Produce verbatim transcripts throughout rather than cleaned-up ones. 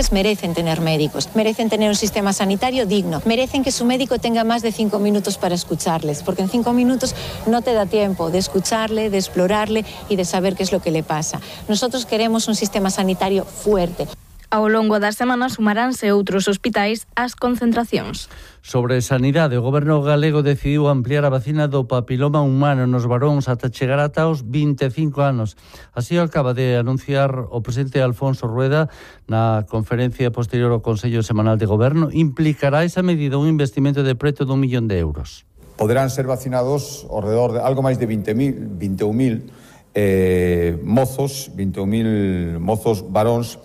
Merecen tener médicos, merecen tener un sistema sanitario digno, merecen que su médico tenga más de cinco minutos para escucharles, porque en cinco minutos no te da tiempo de escucharle, de explorarle y de saber qué es lo que le pasa. Nosotros queremos un sistema sanitario fuerte. Ao longo das semanas sumaránse outros hospitais ás concentracións. Sobre sanidade, o Goberno galego decidiu ampliar a vacina do papiloma humano nos varóns ata chegar ata os vinte e cinco anos. Así o acaba de anunciar o presidente Alfonso Rueda na conferencia posterior ao Consello Semanal de Goberno. Implicará esa medida un investimento de preto dun millón de euros. Poderán ser vacinados ao redor de algo máis de vinte mil, vinte e un mil eh, mozos, vinte e un mil mozos varóns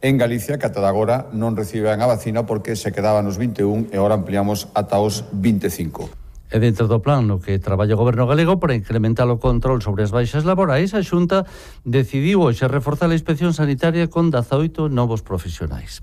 en Galicia, que ata agora non reciben a vacina porque se quedaban nos vinte e un e agora ampliamos ata os vinte e cinco. E dentro do plan no que traballa o Goberno galego para incrementar o control sobre as baixas laborais, a Xunta decidiu hoxe reforzar a inspección sanitaria con dezaoito novos profesionais.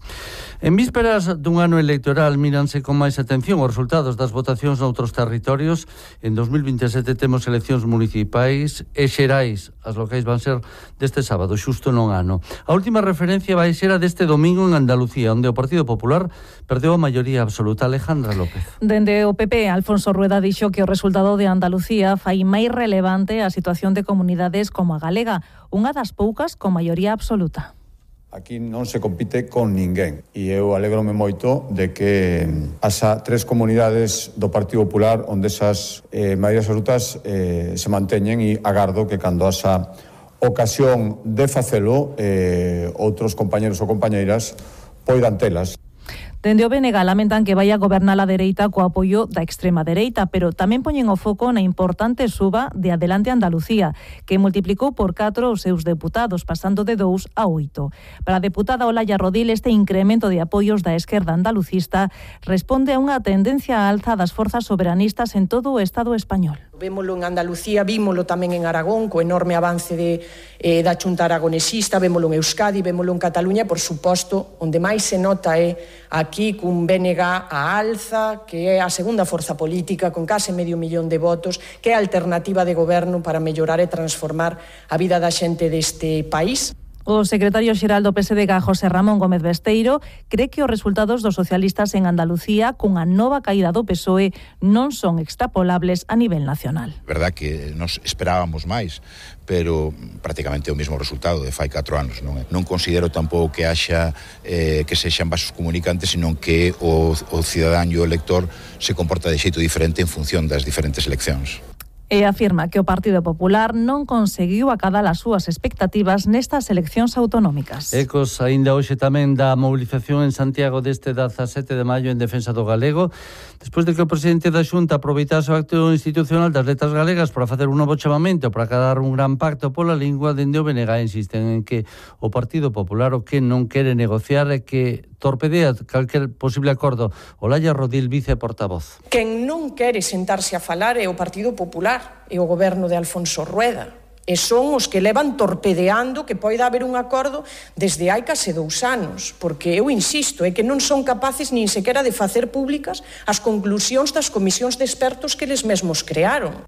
En vísperas dun ano electoral míranse con máis atención os resultados das votacións noutros territorios. En dos mil vinte e sete temos eleccións municipais e xerais. As locais van ser deste sábado, xusto non ano. A última referencia vai ser a deste domingo en Andalucía, onde o Partido Popular perdeu a maioría absoluta. Alejandra López. Dende o P P, Alfonso Rueda dixo que o resultado de Andalucía fai máis relevante a situación de comunidades como a galega, unha das poucas con maioría absoluta. Aquí non se compite con ninguén e eu alegrome moito de que as tres comunidades do Partido Popular onde esas eh, maiorías absolutas eh, se manteñen e agardo que cando asa ocasión de facelo eh, outros compañeros ou compañeiras poidan telas. Dende o B N G lamentan que vai a gobernar a dereita co apoio da extrema dereita, pero tamén poñen o foco na importante suba de Adelante Andalucía, que multiplicou por catro os seus deputados, pasando de dous a oito. Para a deputada Olaya Rodil, este incremento de apoios da esquerda andalucista responde a unha tendencia á alza das forzas soberanistas en todo o Estado español. Vémolo en Andalucía, vímolo tamén en Aragón, co enorme avance de, eh, da Xunta aragonesista, vémolo en Euskadi, vémolo en Cataluña, por suposto, onde máis se nota é aquí cun B N G a alza, que é a segunda forza política, con case medio millón de votos, que é a alternativa de goberno para mellorar e transformar a vida da xente deste país. O secretario xeral do P S D G, José Ramón Gómez Besteiro, cree que os resultados dos socialistas en Andalucía cunha nova caída do P S O E non son extrapolables a nivel nacional. Verdad que nos esperábamos máis, pero prácticamente o mesmo resultado de fai catro anos. Non, non considero tampouco que haxa eh, que sexan vasos comunicantes, senón que o, o cidadán e o elector se comporta de xeito diferente en función das diferentes eleccións. E afirma que o Partido Popular non conseguiu acadar as súas expectativas nestas eleccións autonómicas. Ecos aínda hoxe tamén da mobilización en Santiago deste dezasete de maio en defensa do galego, despois de que o presidente da Xunta aproveitase o acto institucional das letras galegas para facer un novo chamamento para acadar un gran pacto pola lingua. Dende o B N G insisten en que o Partido Popular o que non quere negociar é que torpedea calquer posible acordo. Olaya Rodil, viceportavoz. Quen non quere sentarse a falar é o Partido Popular e o goberno de Alfonso Rueda. E son os que levan torpedeando que poida haber un acordo desde hai case dous anos, porque eu insisto, é que non son capaces nin sequera de facer públicas as conclusións das comisións de expertos que eles mesmos crearon.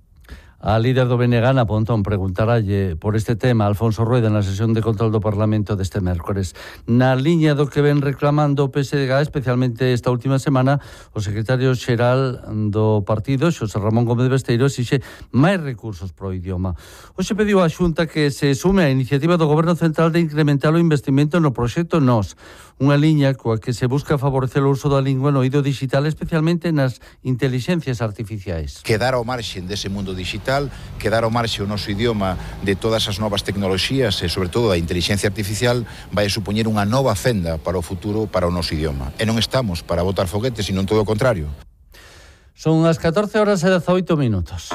A líder do B N G, Ana Pontón, preguntaralle por este tema a Alfonso Rueda na sesión de control do Parlamento deste mércores. Na liña do que ven reclamando o P S D G, especialmente esta última semana, o secretario xeral do partido, Xosé Ramón Gómez Besteiro, exixe máis recursos pro idioma. Hoxe pediu á Xunta que se sume á iniciativa do Goberno Central de incrementar o investimento no proxecto Nós, unha liña coa que se busca favorecer o uso da lingua no eido digital, especialmente nas intelixencias artificiais. Quedar ao marxen dese mundo digital, quedar ao marxe o noso idioma de todas as novas tecnoloxías e, sobre todo, a inteligencia artificial vai a supoñer unha nova fenda para o futuro para o noso idioma. E non estamos para botar foguetes, sino todo o contrario. Son as catorce horas e dezaoito minutos.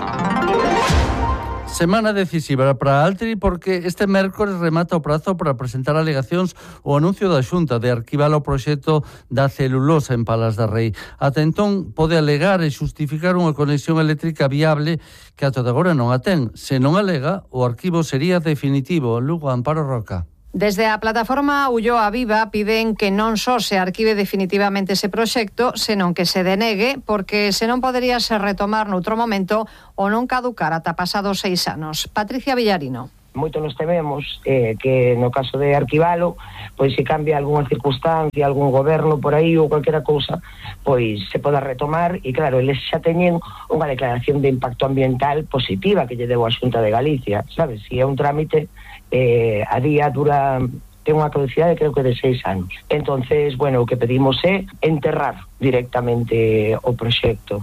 Semana decisiva para Altri porque este mércores remata o prazo para presentar alegacións o anuncio da Xunta de arquivar o proxecto da celulosa en Palas da Rei. Ata entón pode alegar e xustificar unha conexión eléctrica viable que ata agora non a ten. Se non alega, o arquivo sería definitivo. Lugo, Amparo Roca. Desde a plataforma Ulloa Viva piden que non só se arquive definitivamente ese proxecto, senón que se denegue, porque senón podería se retomar noutro momento ou non caducar ata pasados seis anos. Patricia Villarino. Moito nos tememos eh, que no caso de arquivalo, pois se cambia algunha circunstancia, algún goberno por aí ou calquera cousa, pois se poda retomar, e claro, eles xa teñen unha declaración de impacto ambiental positiva que lle deu a Xunta de Galicia, sabes? Si é un trámite, eh, a día dura... ten unha caducidade creo que de seis anos. Entonces, bueno, o que pedimos é enterrar directamente o proxecto.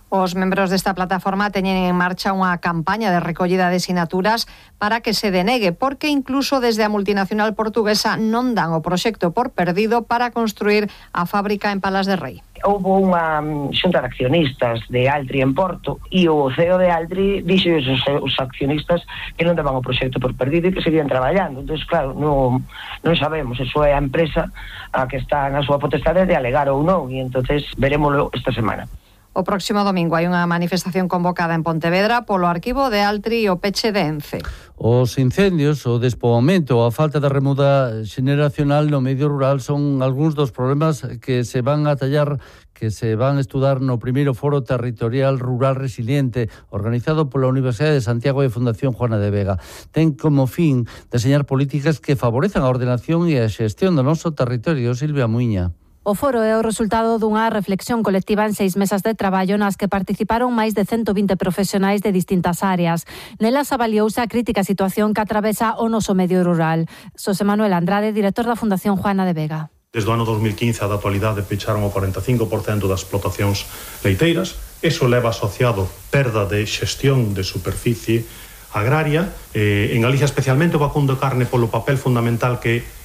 Os membros desta plataforma teñen en marcha unha campaña de recollida de sinaturas para que se denegue, porque incluso desde a multinacional portuguesa non dan o proxecto por perdido para construir a fábrica en Palas de Rei. Houve unha xunta de accionistas de Altri en Porto e o C E O de Altri dixo os, os accionistas que non daban o proxecto por perdido e que seguían traballando. Entón, claro, non, non sabemos, eso é a empresa a que está na súa potestade de alegar ou non, e entonces verémoslo esta semana. O próximo domingo hai unha manifestación convocada en Pontevedra polo arquivo de Altri e o peche de Ence. Os incendios, o despoboamento, a falta de remuda xeneracional no medio rural son algúns dos problemas que se van a tallar, que se van a estudar no primeiro Foro Territorial Rural Resiliente organizado pola Universidade de Santiago e Fundación Juana de Vega. Ten como fin deseñar políticas que favorezan a ordenación e a xestión do noso territorio. Silvia Muiña. O foro é o resultado dunha reflexión colectiva en seis mesas de traballo nas que participaron máis de ciento vinte profesionais de distintas áreas. Nelas avaliouse a crítica situación que atravesa o noso medio rural. Xosé Manuel Andrade, director da Fundación Juana de Vega. Desde o ano dos mil quince a da actualidade pecharon o cuarenta e cinco por cento das explotacións leiteiras. Eso leva asociado perda de xestión de superficie agraria. Eh, en Galicia especialmente o vacuno de carne polo papel fundamental que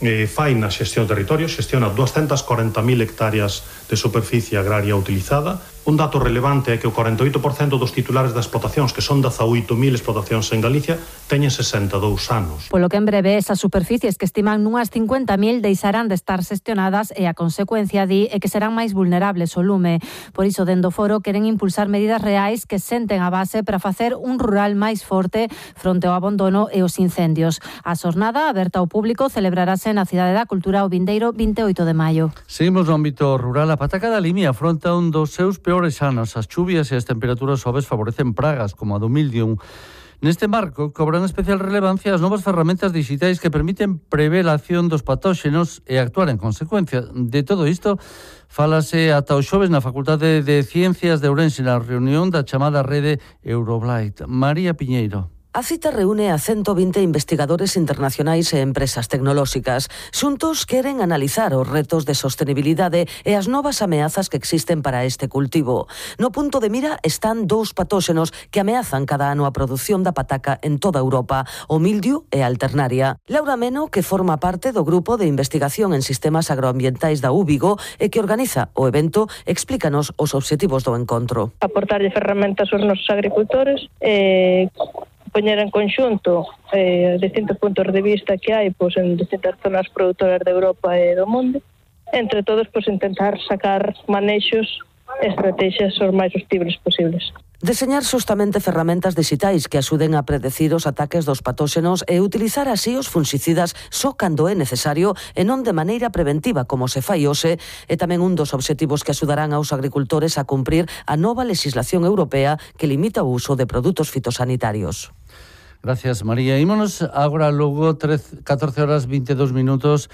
Eh, fai na xestión do territorio, xestiona doscientas cuarenta mil hectáreas de superficie agraria utilizada. Un dato relevante é que o cuarenta e oito por cento dos titulares das explotacións, que son dezaoito mil explotacións en Galicia, teñen sesenta e dous anos. Polo que en breve esas superficies que estiman nunhas cincuenta mil deixarán de estar xestionadas e a consecuencia di é que serán máis vulnerables ao lume. Por iso, dende o foro, queren impulsar medidas reais que senten a base para facer un rural máis forte fronte ao abandono e os incendios. A xornada, aberta ao público, celebrarase na Cidade da Cultura o vindeiro vinte e oito de maio. Seguimos no ámbito rural. A pataca da Limia afronta un dos seus peores anos. As chuvias e as temperaturas suaves favorecen pragas como a do mildium. Neste marco, cobran especial relevancia as novas ferramentas digitais que permiten prever a acción dos patóxenos e actuar en consecuencia. De todo isto, fálase ata o xoves na Facultade de Ciencias de Ourense na reunión da chamada rede Euroblight. María Piñeiro. A cita reúne a ciento vinte investigadores internacionais e empresas tecnolóxicas. Xuntos queren analizar os retos de sostenibilidade e as novas ameazas que existen para este cultivo. No punto de mira están dous patóxenos que ameazan cada ano a produción da pataca en toda Europa, o mildiu e a alternaria. Laura Meno, que forma parte do grupo de investigación en sistemas agroambientais da U Vigo e que organiza o evento, explícanos os obxectivos do encontro. Aportarlle ferramentas aos nosos agricultores e poñer en conxunto eh, distintos puntos de vista que hai pois, en distintas zonas produtoras de Europa e do mundo, entre todos pois, intentar sacar manexos e estrategias os máis sostibles posibles. Deseñar xustamente ferramentas digitais que axuden a predecir os ataques dos patóxenos e utilizar así os fungicidas só cando é necesario e non de maneira preventiva como se fai hoxe é tamén un dos obxectivos que axudarán aos agricultores a cumprir a nova legislación europea que limita o uso de produtos fitosanitarios. Gracias, María. Ímonos agora logo catorce horas vinte e dous minutos.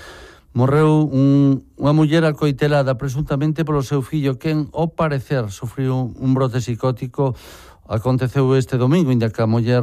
Morreu un, unha muller acoitelada presuntamente polo seu fillo, quen, ao parecer, sufriu un brote psicótico. Aconteceu este domingo, inda que a muller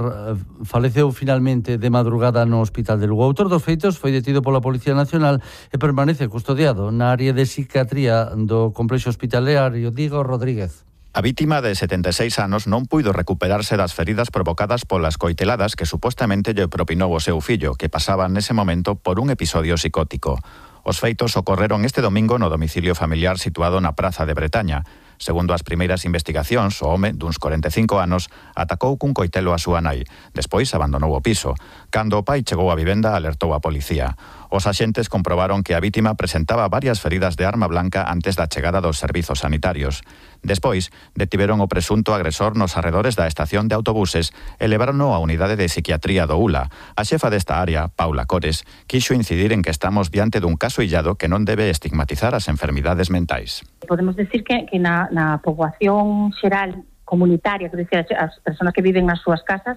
faleceu finalmente de madrugada no hospital de Lugo. O autor dos feitos foi detido pola Policía Nacional e permanece custodiado na área de psiquiatría do complexo hospitalario Diego Rodríguez. A vítima de setenta e seis anos non puido recuperarse das feridas provocadas polas coiteladas que supostamente lle propinou o seu fillo, que pasaba nese momento por un episodio psicótico. Os feitos ocorreron este domingo no domicilio familiar situado na Praza de Bretaña. Segundo as primeiras investigacións, o home, duns cuarenta e cinco anos, atacou cun coitelo a súa nai. Despois abandonou o piso. Cando o pai chegou á vivenda, alertou a policía. Os axentes comprobaron que a vítima presentaba varias feridas de arma blanca antes da chegada dos servizos sanitarios. Despois, detiveron o presunto agresor nos arredores da estación de autobuses e levárono á unidade de psiquiatría do U L A. A xefa desta área, Paula Cores, quixo incidir en que estamos diante dun caso illado que non debe estigmatizar as enfermidades mentais. Podemos decir que, que na, na poboación xeral comunitaria, que decir, as persoas que viven nas súas casas,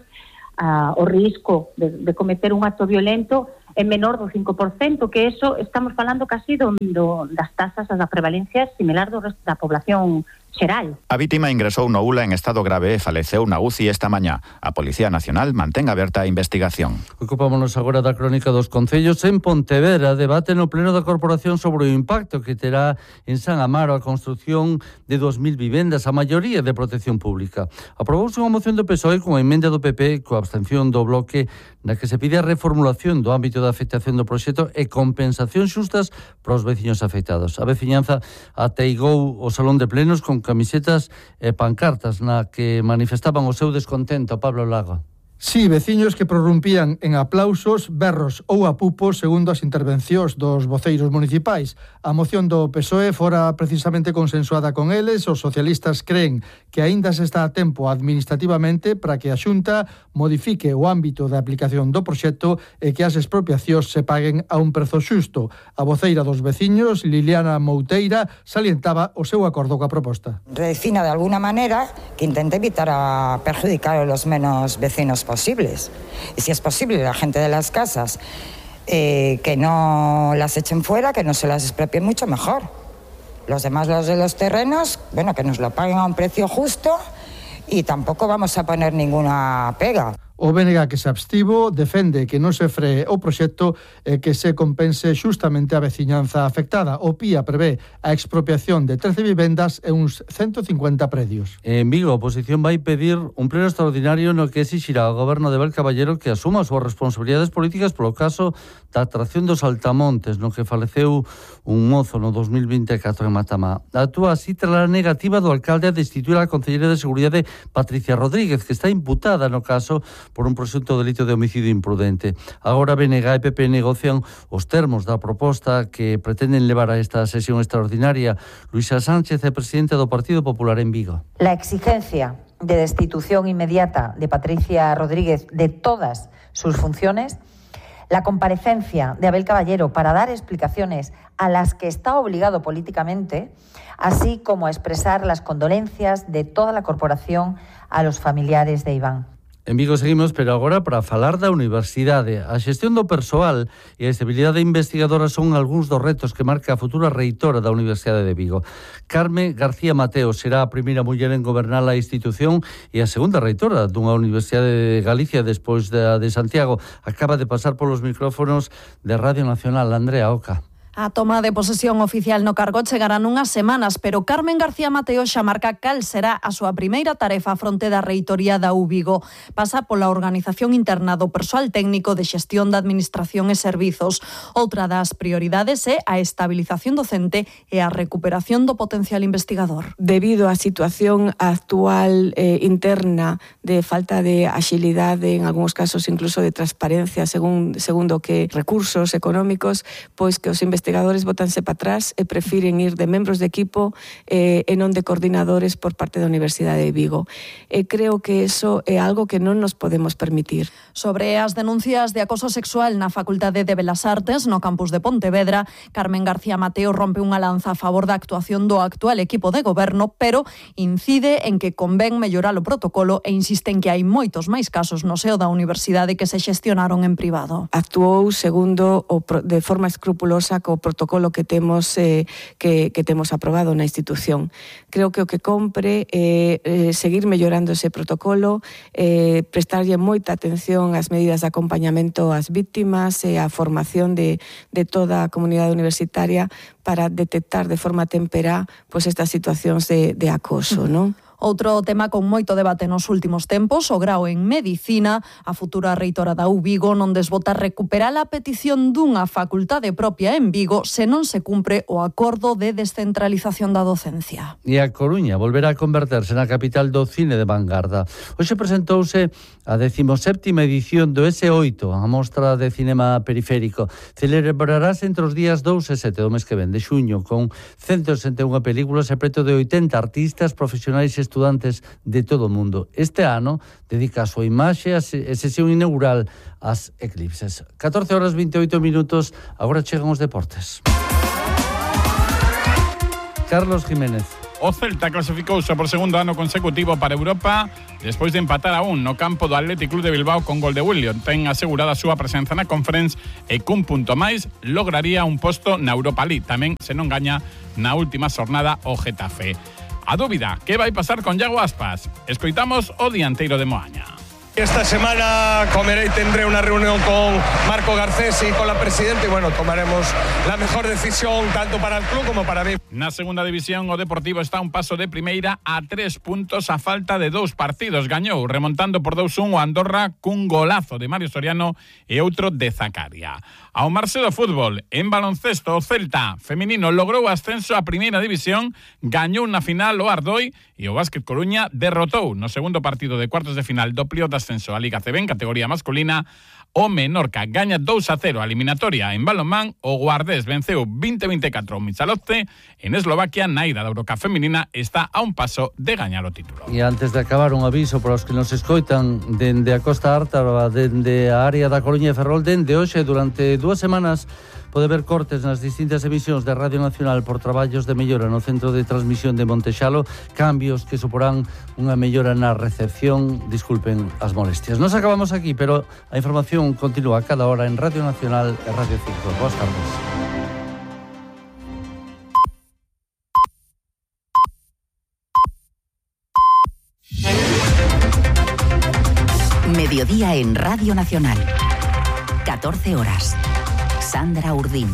a, o risco de, de cometer un acto violento é menor do cinco por cento, que eso estamos falando casi do, do, das tasas da prevalencia similar do resto da población xeral. A vítima ingresou no U L A en estado grave e faleceu na U C I esta mañá. A Policía Nacional mantén aberta a investigación. Ocupámonos agora da crónica dos concellos. En Pontevedra debate no pleno da Corporación sobre o impacto que terá en San Amaro a construción de dos mil vivendas, a maioría de protección pública. Aprobouse unha moción do P S O E con a emenda do P P coa abstención do Bloque na que se pide a reformulación do ámbito da afectación do proxecto e compensación xustas para os veciños afectados. A veciñanza ateigou o salón de plenos con camisetas e pancartas na que manifestaban o seu descontento. Pablo Lago. Sí, veciños que prorrumpían en aplausos, berros ou apupos segundo as intervencións dos voceiros municipais. A moción do P S O E fora precisamente consensuada con eles. Os socialistas creen que aínda se está a tempo administrativamente para que a Xunta modifique o ámbito de aplicación do proxecto e que as expropiacións se paguen a un prezo xusto. A voceira dos veciños, Liliana Mouteira, salientaba o seu acordo coa proposta. Redefina de alguna manera que intente evitar a perjudicar a los menos vecinos posibles. Y si es posible, la gente de las casas eh, que no las echen fuera, que no se las expropien, mucho mejor. Los demás, los de los terrenos, bueno, que nos lo paguen a un precio justo y tampoco vamos a poner ninguna pega. O B N G que se abstivo defende que non se free o proxecto e que se compense xustamente a veciñanza afectada. O P I A prevé a expropiación de trece vivendas e uns ciento cincuenta predios. En Vigo, a oposición vai pedir un pleno extraordinario no que exixirá ao goberno de Abel Caballero que asuma as súas responsabilidades políticas polo caso da atracción dos Altamontes, no que faleceu un mozo no dos mil vinte e catro en Matamá. Actúa así tras a negativa do alcalde a destituir a concelleira de Seguridade Patricia Rodríguez, que está imputada no caso por un presunto delito de homicidio imprudente. Agora B N G e P P negocian os termos da proposta que pretenden levar a esta sesión extraordinaria. Luisa Sánchez é presidenta do Partido Popular en Vigo. La exigencia de destitución inmediata de Patricia Rodríguez de todas sus funciones, la comparecencia de Abel Caballero para dar explicaciones a las que está obligado políticamente, así como a expresar las condolencias de toda la corporación a los familiares de Iván. En Vigo seguimos, pero agora para falar da universidade. A xestión do persoal e a estabilidade investigadora son algúns dos retos que marca a futura reitora da Universidade de Vigo. Carme García Mateo será a primeira muller en gobernar a institución e a segunda reitora dunha Universidade de Galicia despois da de Santiago. Acaba de pasar polos micrófonos de Radio Nacional. Andrea Oca. A toma de posesión oficial no cargo chegará nunhas semanas, pero Carmen García Mateo xa marca cal será a súa primeira tarefa fronte da reitoría da U Vigo. Pasa pola organización interna do persoal técnico de xestión da administración e servizos. Outra das prioridades é a estabilización docente e a recuperación do potencial investigador. Debido á situación actual eh, interna de falta de axilidade, en algúns casos incluso de transparencia, según, segundo que recursos económicos, pois que os investigadores investigadores botanse para atrás e prefiren ir de membros de equipo eh, e non de coordinadores por parte da Universidade de Vigo. E creo que eso é algo que non nos podemos permitir. Sobre as denuncias de acoso sexual na Facultade de Belas Artes no campus de Pontevedra, Carmen García Mateo rompe unha lanza a favor da actuación do actual equipo de goberno, pero incide en que convén mellorar o protocolo e insiste en que hai moitos máis casos no seo da universidade que se xestionaron en privado. Actuou segundo o de forma escrupulosa co protocolo que temos eh, que, que temos aprobado na institución. Creo que o que compre é eh, seguir mellorando ese protocolo, eh, prestarlle moita atención ás medidas de acompañamento ás vítimas e a formación de, de toda a comunidade universitaria para detectar de forma temperá pois, estas situacións de, de acoso, non? Outro tema con moito debate nos últimos tempos, o grao en Medicina. A futura reitora da U Vigo non desbota recuperar a petición dunha facultade propia en Vigo se non se cumpre o acordo de descentralización da docencia. E a Coruña volverá a converterse na capital do cine de vanguarda. Hoxe presentouse a decimoséptima edición do ese oito, a mostra de cinema periférico. Celebrarase entre os días dous e sete do mes que ven, de xuño, con ciento sesenta e unha películas e preto de oitenta artistas profesionais e estudantes de todo o mundo. Este ano dedica a súa imaxe a sesión inaugural ás eclipses. catorce horas veinte e oito minutos, agora chegan os deportes. Carlos Jiménez. O Celta clasificouse por segundo ano consecutivo para Europa despois de empatar a un no campo do Athletic Club de Bilbao con gol de William. Ten asegurada a súa presenza na Conference e cun punto máis lograría un posto na Europa League. Tamén se non gaña na última xornada o Getafe. A dúbida, que vai pasar con Iago Aspas? Escoitamos o dianteiro de Moaña. Esta semana comeré y tendré una reunión con Marco Garcés y con la presidenta y bueno, tomaremos la mejor decisión tanto para el club como para mí. Na segunda división o Deportivo está a un paso de primeira a tres puntos a falta de dous partidos. Gañou remontando por dous un o Andorra cun golazo de Mario Soriano e outro de Zacaria. Ao marxe do fútbol, en baloncesto o Celta feminino logrou o ascenso a primeira división, gañou na final o Ardoi e o Básquet Coruña derrotou no segundo partido de cuartos de final do playoff de ascenso a Liga C B en categoría masculina. O Menorca gaña dous a cero a eliminatoria en balonmán. O Guardés venceu veinte a veinticuatro o Michalovce. En Eslovaquia, Naida da Eurocup feminina está a un paso de gañar o título. E antes de acabar, un aviso para os que nos escoitan dende a Costa Ártara, dende a área da Coruña e Ferrol, dende hoxe durante dúas semanas pode ver cortes nas distintas emisións de Radio Nacional por traballos de mellora no centro de transmisión de Montexalo, cambios que suporán unha mellora na recepción. Disculpen as molestias. Nos acabamos aquí, pero a información continúa a cada hora en Radio Nacional e Radio cinco. Boas tardes. Mediodía en Radio Nacional. catorce horas. Sandra Urdín.